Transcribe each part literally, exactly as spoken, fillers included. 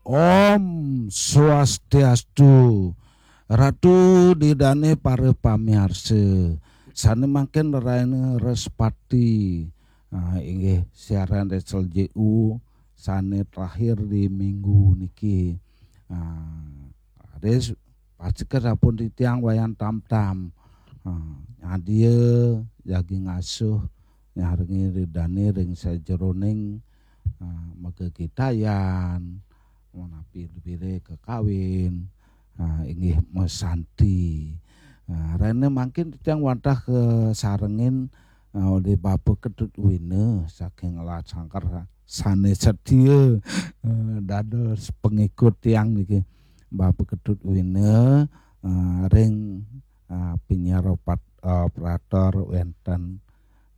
Om Swastiastu. Ratu ida dane para pamiarsa. Sane mangkin raina Respati. Ah, inggih siaran S L J U sane terakhir di minggu niki. Ah, raris pastika sampun titiang Wayan Tamtam. Ah, nyadia jagi ngasuh nyarengi ida dane ring sajeroning, ah, magegitayan, menapi lebire kekawin, ah, inggih masanti. Ah, raina mangkin titiang wantah kasarengin, ah, olih Bapa Ketut Wina saking Lasangkar sane setia, ah, dados pengikut tiang niki. Bapa Ketut Wina, ah, ring, ah, penyiar opat, ah, operator wenten,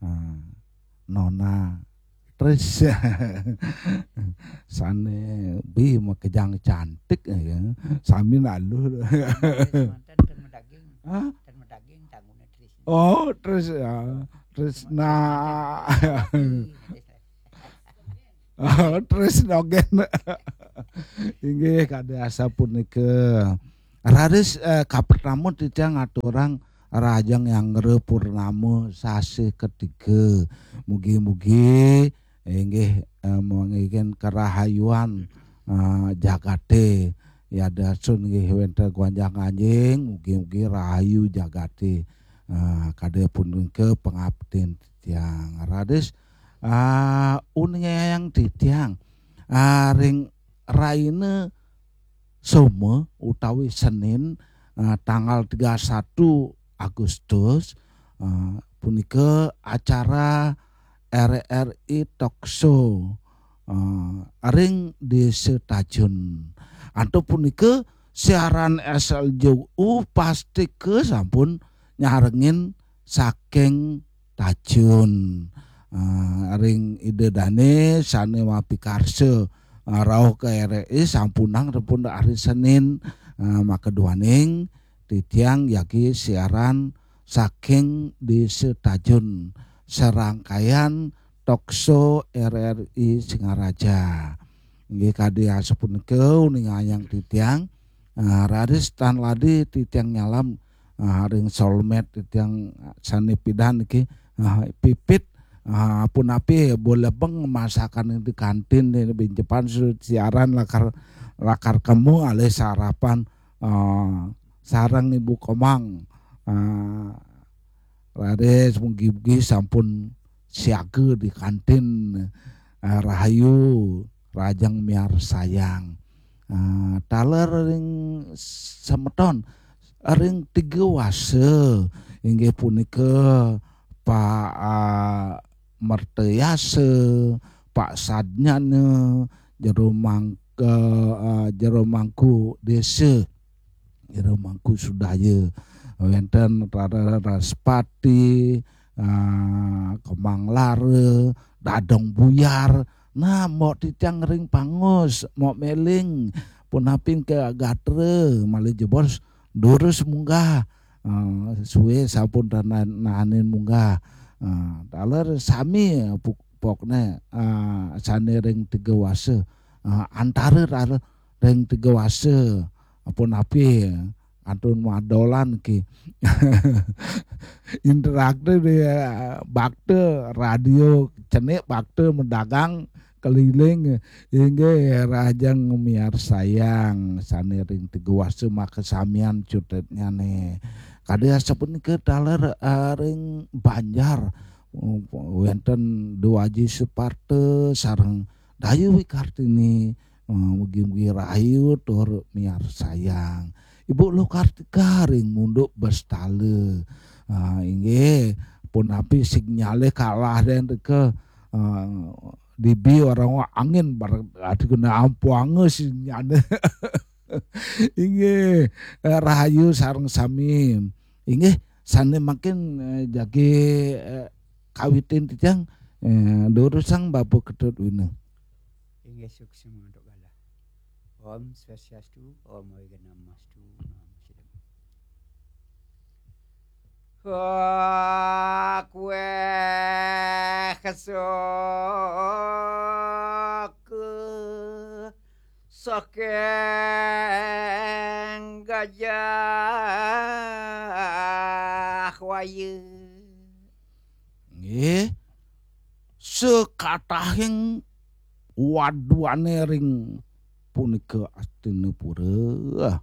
ah, Nona Tris. Sane bi makejang cantik ya. Sami naluh. Tris manten ten medaging. Hah? Ten medaging tanggune Tris. Oh, Tris ya. Trisna. Tris. Oh, Tris dogen. Inggih, kadi asapunika. Raris, eh, kapertama titiang ngaturang Rahajeng Yanggra Purnama sasih ketiga. Mugi-mugi inggih, eh, manggihin karahayuan, eh, jagate. Yadiastun inggih wenten gonjang-ganjing, mugi-mugi rahayu jagate. Eh, kadi punika pangabdian titiang. Raris, ah, uningayang titiang, ah, ring raina Soma utawi Senin, ah, tanggal tiga satu Agustus, ah, punika acara R R I Talk Show, ah, ring Desa Tajun. Antuk punika siaran S L J U pastika sampun nyarengin saking Tajun. Ah, ring ida dane sane mapikarsa, ah, rauh ka R R I sampunang sampun hari Senin, ah, maka duaning titiang jagi siaran saking Desa Tajun, serangkaian talk show R R I Singaraja. Inggih kadi asapunika uningayang titiang, ah, raris tan ladi titiang nyalam, ah, ring solmed titiang sane pidan niki, ah, pipit, ah, punapi bo lebeng masakan di kantin di binjepan sudah siaran lakar, lakar kemu alih sarapan, ah, sareng Ibu Komang. Ah, raris mugi-mugi sampun siaga di kantin. Ah, rahayu, rahajeng miarsayang. Ah, taler ring semeton, ring tiga wasa, inggih punika Pak, ah, Mertayasa, Pak Sadnyana, jero mangka, ah, jero mangku desa, jero mangku sudaya, wenten Rara Raspati, ah, Kemang Lara, Dadong Buyar. Nah, mok titiang ring pangus, mok meling, punapin ke gatra, malih jebos durus munggah. Ah, suwe sampun tana-, nahanin munggah. Ah, taler sami puk-, pokne, ah, sane ring tiga wasa. Ah, antara rara ring tiga wasa. Punapi kantun madolan ki. Interaktif di, eh, bakta radio cenik, bakta medagang keliling, inggih rahajeng miarsayang sane ring tiga wasa makasamian cutetnyane. Kadi asapunika taler, eh, ring Banjar, eh, wenten Dwaji Suparta sareng Dayu Wikartini, eh, mugi-mugi rahayu tur miarsayang. Ibu Luh Kartika ring Munduk Bestala. Ah, inggih, punapi sinyale kalah den teka, eh, dibi orang angin bar-, ati kena ampuanga sinyale. Inggih, eh, rahayu sareng sami. Inggih, sane mangkin, eh, jagi, eh, kawitin titiang, eh, durusang Bapa Ketut Wina. Inggih, suksma antuk galah. Om Swastiastu, Om Awighnamastu, Namo Siddham. Wa kueh kesok Saking Gajah Waya. Nggih. Sekatahing waduane ring punika Astinapura.